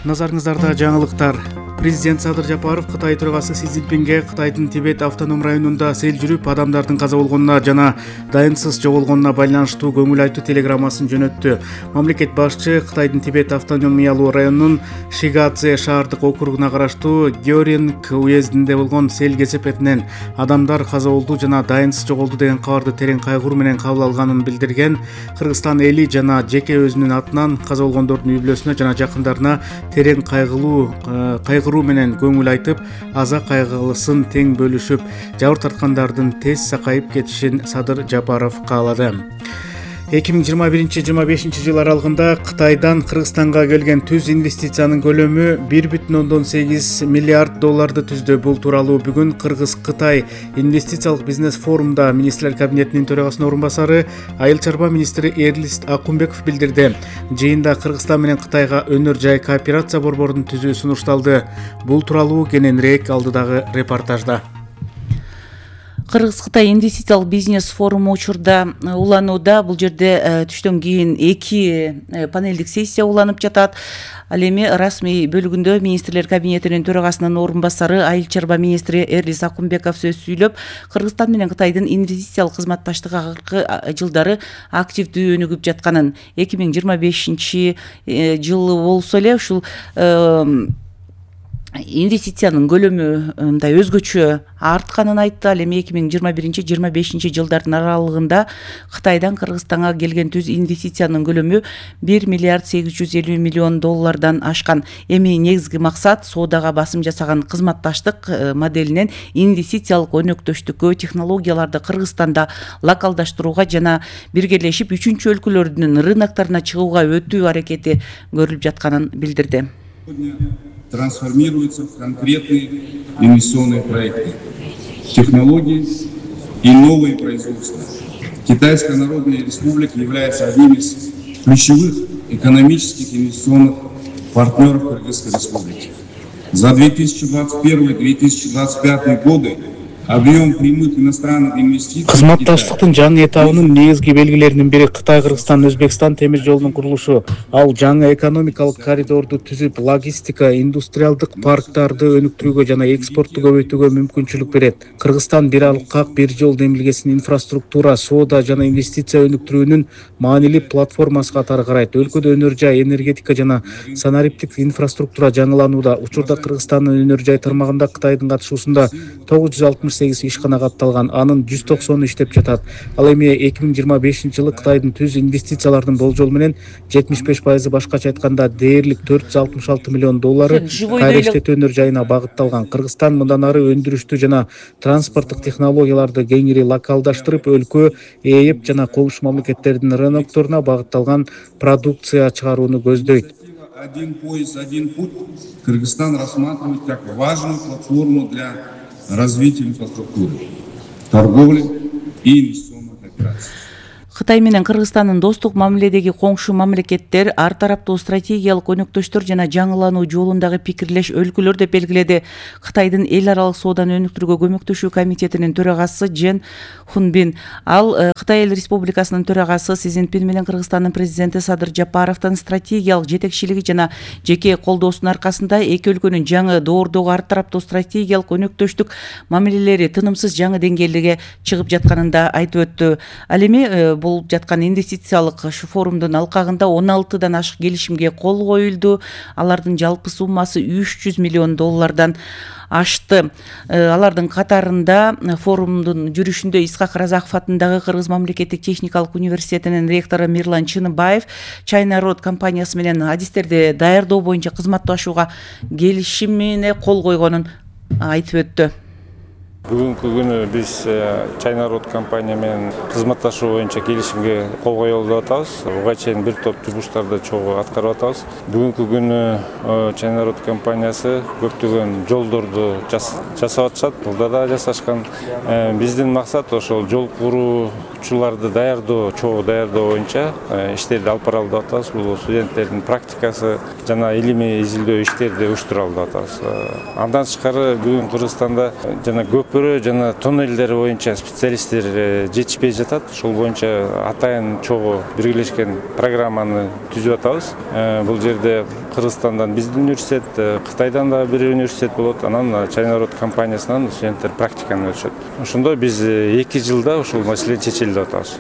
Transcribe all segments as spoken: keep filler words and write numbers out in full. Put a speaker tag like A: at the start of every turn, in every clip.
A: Назарыңыздарда жаңылыктар. Президент Садыр Жапаров Кытай төрагасы Си Цзиньпинге Кытайдын Тибет автоном районунда сел жүрүп, адамдардын каза болгонуна жана дайынсыз жоголгонуна байланыштуу көңүл айтуу телеграммасын жөнөттү. Мамлекет башчы Кытайдын Тибет автономиялуу районунун Шигадзе шаардык округуна караштуу Гёринг уездинде болгон сел кесепетинен адамдар каза болду жана дайынсыз жоголду деген кабарды терең кайгыруу менен кабыл алганын билдирген. Кыргызстан эли жана жеке өзүнүн атынан каза болгондордун үй бүлөсүнө жана жакындарына терең кайгылуу кайгыруу менен көңүл айтып, аза кайгылысын тең бөлүшүп, жабыр тарткандардын тез сакайып кетишин Садыр Жапаров каалады. эки миң жыйырма биринчи жыйырма бешинчи жыл аралыгында Кытайдан Кыргызстанга келген түз инвестициянын көлөмү бир бүтүн ондон сегиз миллиард долларды түздү. Бул тууралуу бүгүн Кыргыз-Кытай инвестициялык бизнес форумда министрлер кабинетинин төрагасынын орун басары, айыл чарба министри Эрлис Акунбеков билдирди. Жыйында Кыргызстан менен Кытайга өнөр жай кооперация борборун түзүү сунушталды. Бул тууралуу кененирээк алдыдагы репортажда.
B: Кыргыз-Кытай инвестициялык бизнес форуму учурда уланууда. Бул жерде түштөн кийин эки панелдик сессия уланып жатат. Ал эми расмий бөлүгүндө министрлер кабинетинин төрагасынын орун басары, айыл чарба министри Эрлис Акунбеков сөз сүйлөп, Кыргызстан менен Кытайдын инвестициялык кызматташтыгы акыркы жылдары активдүү өнүгүп жатканын, эки миң жыйырма бешинчи жылы болсо эле ушул инвестициянын көлөмү мындай өзгөчө артканын айтты. Ал эми эки миң жыйырма биринчи жыйырма бешинчи жылдардын аралыгында Кытайдан Кыргызстанга келген түз инвестициянын көлөмү бир миллиард сегиз жүз элүү миллион доллардан ашкан. Эми негизги максат соодага басым жасаган кызматташтык моделинен инвестициялык өнөктөштүккө, технологияларды Кыргызстанда локалдаштырууга жана биргелешип үчүнчү өлкөлөрдүн рынокторуна чыгууга өтүү аракети көрүлүп жатканын билдирди.
C: Трансформируются в конкретные инвестиционные проекты, технологии и новые производства. Китайская Народная Республика является одним из ключевых экономических инвестиционных партнеров Кыргызской Республики. За две тысячи двадцать первый — две тысячи двадцать пятый годы объем прямых иностранных инвестиций.
A: Кызматташтыктын жаңы этабынын негизги белгилеринин бири Кытай, Кыргызстан, Өзбекстан темир жолунун курулушу. Ал жаңы экономикалык коридорду түзүп, логистика, индустриалдык парктарды өнүктүрүүгө жана экспортту көбөйтүүгө мүмкүнчүлүк берет. Кыргызстан бир алкак, бир жол демилгесин инфраструктура, соода жана инвестиция өнүктүрүүнүн маанилүү платформасы катары карайт. Өлкөдө өнөр жай, энергетика жана санариптик инфраструктура жаңыланууда. Учурда Кыргызстандын өнөр жай тармагында Кытайдын катышуусунда тогуз жүз алтымыш сегиз ишкана катталган, анын жүз токсону иштеп жатат. Ал эми эки миң жыйырма бешинчи жылы Кытайдын түз инвестициялардын болжол менен жетимиш беш пайызы, башкача айтканда дээрлик төрт жүз алтымыш алты миллион доллары кайра иштетүү өнөр жайына багытталган. Кыргызстан мындан ары өндүрүштү жана транспорттук технологияларды кеңири локалдаштырып, өлкө, ээп жана коңшу мамлекеттердин рынокторуна багытталган продукция чыгарууну көздөйт.
C: Один пояс, один путь. Кыргызстан рассматривает как важную платформу для развития инфраструктуры, торговли и инвестиционных операций.
B: Кытай менен Кыргызстандын достук мамиледеги коңшу мамлекеттер ар тараптуу стратегиялык өнөктөштөр жана жаңылануу жолундагы пикирлеш өлкөлөр деп белгиледи. Кытайдын эл аралык сооданы өнүктүрүүгө көмөктөшүү комитетинин төрагасы Джен Хунбин. Ал Кытай эл республикасынын төрагасы Си Цзиньпин менен Кыргызстандын президенти Садыр Жапаровдун стратегиялык жетекчилиги жана жеке колдоосунун аркасында эки өлкөнүн жаңы доордогу ар тараптуу стратегиялык өнөктөштүк мамилелери тынымсыз жаңы деңгээлге чыгып жатканын да айтып өттү. Ал эми болуп жаткан инвестициялык форумдун алкагында он алтыдан ашык келишимге кол коюлду. Алардын жалпы суммасы үч жүз миллион доллардан ашты. Алардын катарында форумдун жүрүшүндө Исхак Разаков атындагы Кыргыз мамлекеттик техникалык университетинин ректору Мирлан Чыныбаев China Road компаниясы менен адистерди даярдоо боюнча кызматташууга келишимине кол койгонун айтып өттү.
D: Бүгүнкү күнү биз China Road компания менен кызматташуу боюнча келишимге кол коюп атабыз. Буга чейин бир топ жумуштарды чогуу аткарып атабыз. Бүгүнкү күнү China Road компаниясы көптөгөн жолдорду жасап атышат. Булда да жасашкан. Биздин максат ошол жол куруучуларды даярдоо, чогуу даярдоо боюнча иштерди алып бара алып атабыз. Бул студенттердин практикасы жана илимий изилдөө иштерди уюштура алып атабыз. Андан тышкары бүгүн Кыргызстанда жана көп көпүрө жана тоннелдер боюнча специалисттер жетишпей жатат. Ошол боюнча атайын чогуу биргелешкен программаны түзүп атабыз. Бул жерде Кыргызстандан биздин университет, Кытайдан да бир университет болот, анан Чайнарод компаниясынан студенттер практиканы өтүшөт. Ошондо биз эки жылда ушул маселени чечели деп атабыз.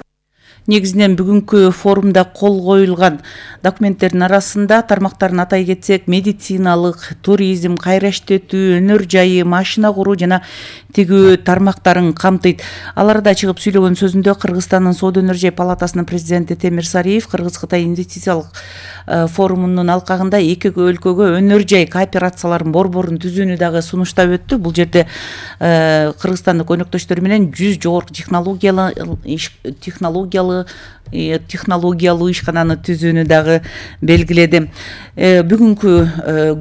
B: Негизинен бүгүнкү форумда кол коюлган документтердин арасында тармактарын атай кетсек, медициналык, туризм, кайра иштетүү, өнөр жайы, машина куруу жана тигүү тармактарын камтыйт. Аларда чыгып сүйлөгөн сөзүндө Кыргызстандын Соода өнөр жай палатасынын президенти Темир Сариев Кыргыз-Кытай инвестициялык форумунун алкагында эки өлкөгө өнөр жай кооперацияларын борборун түзүүнү дагы сунуштап өттү. Бул жерде Кыргызстандык өнөктөштөр менен жүз жогорку технологиялы технологиялы технологиялуу ишкананы түзүүнү дагы белгиледи. Бүгүнкү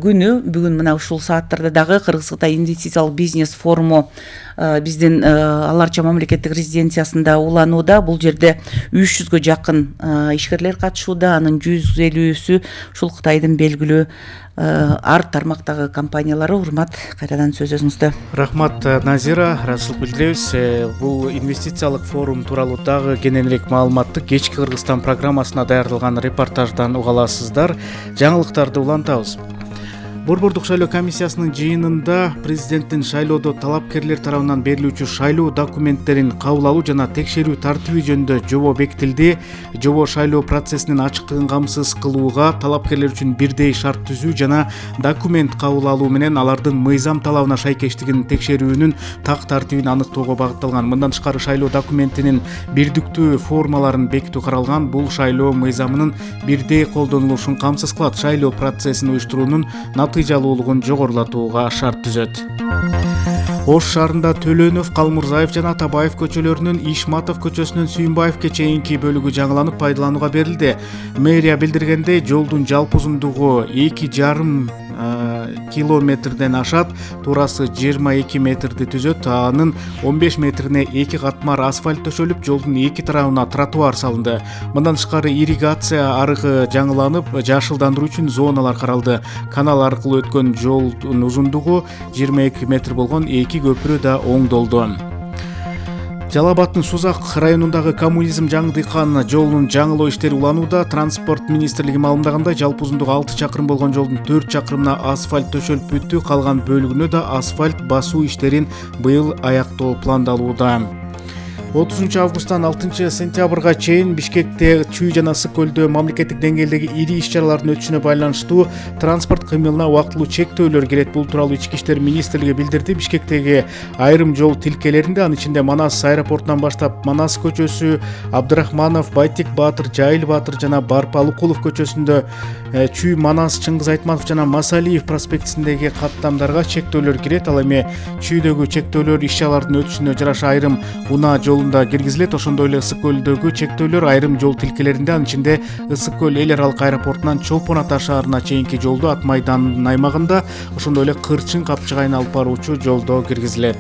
B: күнү, бүгүн мына ушул сааттарда дагы Кыргыз-Кытай инвестициялык бизнес форуму биздин Аларча мамлекеттик резиденциясында уланууда. Бул жерде үч жүзгө жакын ишкерлер катышууда, анын жүз элүүсү ушул Кытайдын белгилүү ар тармактагы компаниялары. Урмат, кайрадан сөз өзүңүздө.
A: Рахмат, Назира. Ыраазычылык билдиребиз. Бул инвестициялык форум тууралуу дагы кененирээк маалыматты кечки Кыргызстан программасына даярдалган репортаждан уга аласыздар. Жаңылыктарды улантабыз. Борбордук шайлоо комиссиясынын жыйынында президенттин шайлоодо талапкерлер тарабынан берилүүчү шайлоо документтерин кабыл алуу жана текшерүү тартиби жөнүндө жобо бекитилди. Жобо шайлоо процессинин ачыктыгын камсыз кылууга, талапкерлер үчүн бирдей шарт түзүү жана документ кабыл алуу менен алардын мыйзам талабына шайкештигин текшерүүнүн так тартибин аныктоого багытталган. Мындан тышкары шайлоо документинин бирдиктүү формаларын бекитүү каралган. Бул шайлоо мыйзамынын бирдей колдонулушун камсыз кылат, шайлоо процессин уюштуруунун натыйжалуулугун жогорулатууга шарт түзөт. Ош шаарында Төлөнов, Калмурзаев жана Атабаев көчөлөрүнүн Ишматов көчөсүнөн Сүйүнбаевке чейинки бөлүгү жаңыланып пайдаланууга берилди. Мэрия билдиргендей, жолдун жалпы узундугу эки жарым километрден ашат, туурасы жыйырма эки метрди түзөт. Анын он беш метрине эки катмар асфальт төшөлүп, жолдун эки тарабына тротуар салынды. Мындан тышкары ирригация арыгы жаңыланып, жашылдандыруу үчүн зоналар каралды. Канал аркылуу өткөн жолдун узундугу жыйырма эки метр болгон эки көпүрө да оңдолду. Жалал Абадтын Сузак районундагы коммунизм жаңы дыйкан жолунун жаңылоо иштери уланууда. Транспорт министрлиги маалымдагандай, жалпы узундугу алты чакырым болгон жолдун төрт чакырымына асфальт төшөлүп бүттү. Калган бөлүгүнө да асфальт басуу иштерин быйыл аяктоо пландалууда. отузунчу августтан алтынчы сентябрга чейин Бишкекте, Чүй жана Ысык көлдө мамлекеттик деңгээлдеги ири иш-чаралардын өтүшүнө байланыштуу транспорт кыймылына убактылуу чектөөлөр кирет. Бул тууралуу Ички иштер министрлиги билдирди. Бишкектеги айрым жол тилкелеринде, анын ичинде Манас аэропортунан баштап Манас көчөсү, Абдрахманов, Байтек Баатыр, Жайыл Баатыр жана Барпалыкулов көчөсүндө, Чүй, Манас, Чыңгыз Айтматов жана Масалиев проспектисиндеги каттамдарга чектөөлөр кирет. Ал эми Чүйдөгү чектөөлөр иш-чаралардын өтүшүнө жараша айрым унаа жол киргизилет. Ошондой эле Ысык көлдөгү чектөөлөр айрым жол тилкелеринде, анын ичинде Ысык көл эл аралык аэропортунан Чолпон Ата шаарына чейинки жолдо, Ат майданынын аймагында, ошондой эле Кырчын Капчыгайына алып баруучу жолдо киргизилет.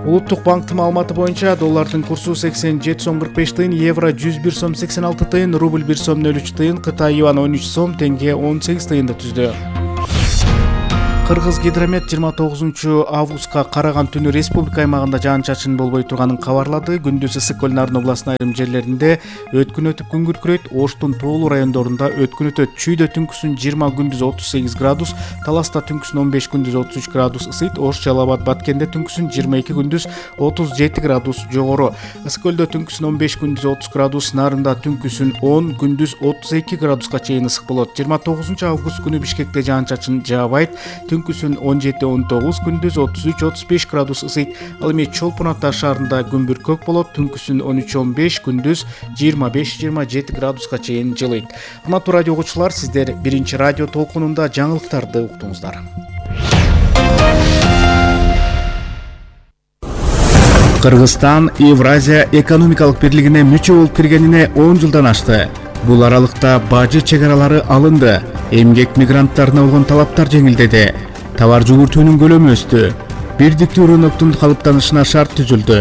A: Улуттук банктын маалыматы боюнча доллардын курсу сексен жети сом кырк беш тыйын, евро жүз бир сом сексен алты тыйын, рубль бир сом нөл үч тыйын, Кытай юан он үч сом, теңге он сегиз тыйынды түздү. Кыргыз гидромет жыйырма тогузунчу августка караган түнү республика аймагында жаан-чачын болбой турганын кабарлады. Күндүз Ысык көл Нарын областынын айрым жерлеринде өткүн өтүп күн күркүрөйт. Оштун тоолуу райондорунда өткүн өтөт. Чүйдө түнкүсүн жыйырма, күндүз отуз сегиз градус, Таласта түнкүсүн он беш, күндүз отуз үч градус ысыйт. Ош, Жалал Абад, Баткенде түнкүсүн жыйырма эки, күндүз отуз жети градус жогору. Ысык көлдө түнкүсүн он беш, күндүз отуз градус, Нарында түнкүсүн он, күндүз отуз эки градуска чейин ысык болот. жыйырма тогузунчу август күнү Бишкекте жаан-чачын жаабайт. Түнкүсүн он жети, он тогуз, күндүз отуз үч, отуз беш градус ысыйт. Ал эми Чолпон Ата шаарында күн бүркөк болот. Түнкүсүн он үч, он беш, күндүз жыйырма беш, жыйырма жети градуска чейин жылыйт. Урматтуу радио угуучулар, сиздер биринчи радио толкунунда жаңылыктарды уктуңуздар. Кыргызстан Евразия экономикалык бирлигине мүчө болуп киргенине он жылдан ашты. Бул аралыкта бажы чегаралары алынды. Эмгек мигранттарына болгон талаптар жеңилдеди. Товар жүгүртүүнүн көлөмү өстү. Бирдиктүү рыноктун калыптанышына шарт түзүлдү.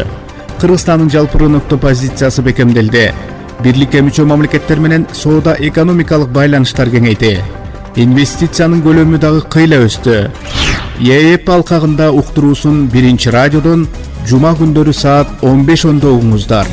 A: Кыргызстандын жалпы рынокто позициясы бекемделди. Бирликке мүчө мамлекеттер менен соода экономикалык байланыштар кеңейди. Инвестициянын көлөмү дагы кыйла өстү. ЕЭП алкагында уктуруусун биринчи радиодон жума күндөрү саат он беш ондо угуңуздар.